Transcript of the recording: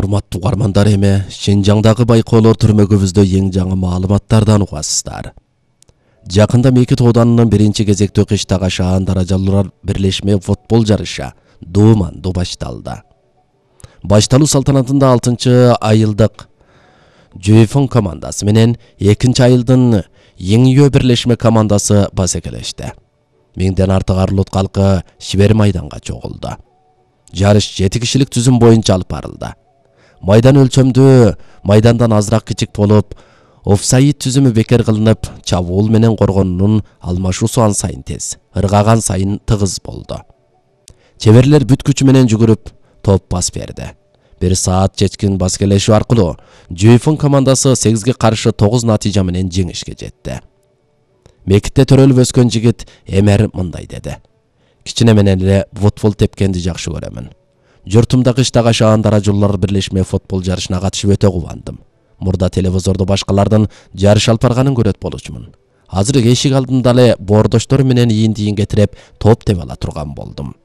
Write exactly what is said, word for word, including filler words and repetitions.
Урматтуу угармандар, эми Шинжаңдагы байкоолор түрмөгүбүздө эң жаңы маалыматтардан угасыздар. Жакында Мекит оданынын биринчи кезектүү кыштагы шаан даражалуулар бирлешме футбол жарышы Думанды башталды. Башталуу салтанатында алтынчы айылдык Жүйфөн командасы менен экинчи айылдын Еңиөө бирлешме командасы басекелешти. Миңден артык Арлут калкы Шибер майданга чогулду. Жарыш жети кишилик түзүм боюнча алып барылды. Майдан өлчөмдүү майдандан азыраак кичик болуп, офсайд түзүмү бекер кылынып, чабуул менен коргоонун алмашуусу ан сайын тез, ыргаган сайын тыгыз болду. Чеберлер бүт күчү менен жүгүрүп, топ бас берди. Бир саат чечкин баскелешүү аркылуу Жүйфөн командасы сегизге каршы тогуз натыйжа менен жеңишке жетти. Мекитте төрөлүп өскөн жигит Эмер мындай деди: Кичине менен эле футбол тепкенди жакшы көрөмүн. Журтумда кыштагы шаан даражалуулар бирлешме футбол жарышына катышып өтө кубандым. Мурда телевизордо башкалардын жарыш алып барганын көрөт болчумун. Азыр эшик алдында эле боордоштор менен ийин-тийинге тиреп топ тебе ала турган болдум.